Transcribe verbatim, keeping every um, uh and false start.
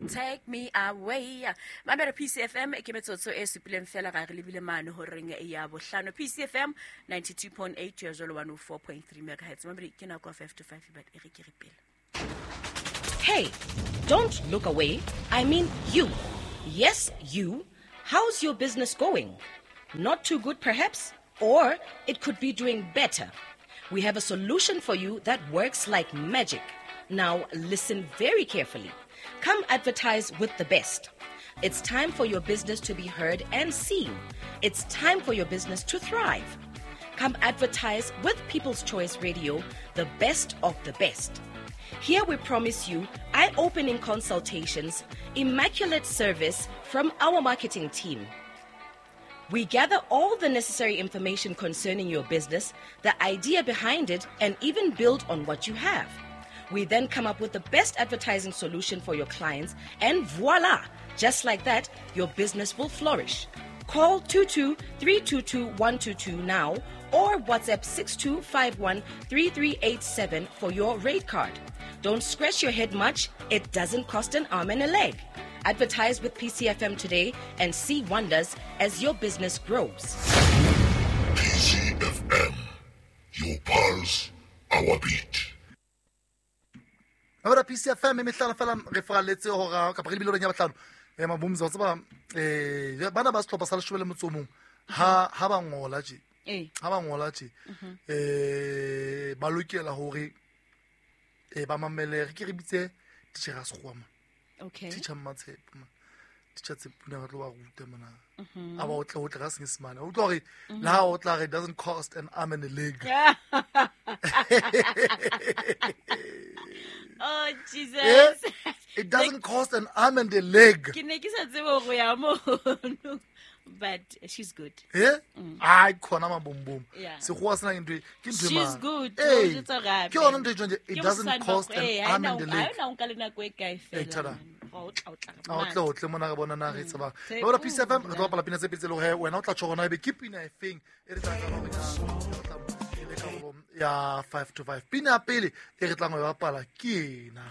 Take me away. Mamela P C F M, ke metsotso e supileng fela ga re lebile mane horeng ya bohlano. P C F M ninety-two point eight ya jalo one oh four point three megahertz. Mamela, ke nako ya five to five, but e re ke re pele. Hey, don't look away. I mean you. Yes, you. How's your business going? Not too good, perhaps? Or it could be doing better. We have a solution for you that works like magic. Now, listen very carefully. Come advertise with the best. It's time for your business to be heard and seen. It's time for your business to thrive. Come advertise with People's Choice Radio, the best of the best. Here we promise you eye opening consultations, immaculate service from our marketing team. We gather all the necessary information concerning your business, the idea behind it, and even build on what you have. We then come up with the best advertising solution for your clients, and voila! Just like that, your business will flourish. Call two two three two two one two two now or WhatsApp six two five one three three eight seven for your rate card. Don't scratch your head much, it doesn't cost an arm and a leg. Advertise with P C F M today and see wonders as your business grows. P C F M. Your pulse, our beat. Mamela P C F M, mehlala fela re faralletse hora kapa re lebile horeng ya bohlano. um mabomza wa tseba, um bana ba sehlopha sa leshome le motso o mong, ha ha ba ngola tje, Eh. ha ba ngola tje, um ba lokela hore um ba mamele, re ke re bitse titjhere ya sekgowa mona. Okay. Teacher Mmatshepo mona, teacher Tshepuna, ba tlo ba ruta mona, a ba otle otle ka Senyesemane. O utlwa hore le ha o tla re, "It doesn't cost an arm and a leg." Oh Jesus. Eh? It doesn't cost an arm and a leg. Ke ne ke sa tsebe hore ya mono. But she's good. Eh, ai khona mabombom. Yeah. Sekgowa sena ke ntho e- ke ntho e She's mane. good. Ee, O jwetsa hore hape. Ke yona ntho e tjhong, it Ke doesn't mosadi wa cost an eh, ha arm ena and a o- ha leg. ena o nka le nako e kae Eh, fela. thada. Man. Wa o tla o tla A o tle o tle mona re bona na re tsebang. Tshepo, Bona P C F M, re tlo nna. bapala pina tse pedi tse le hore wena o tla tjho hore na ebe ke pina e feng e re tla qala hore na o tla e le karolo ya five to five. Pina ya pele e re tlang ho e bapala ke ena.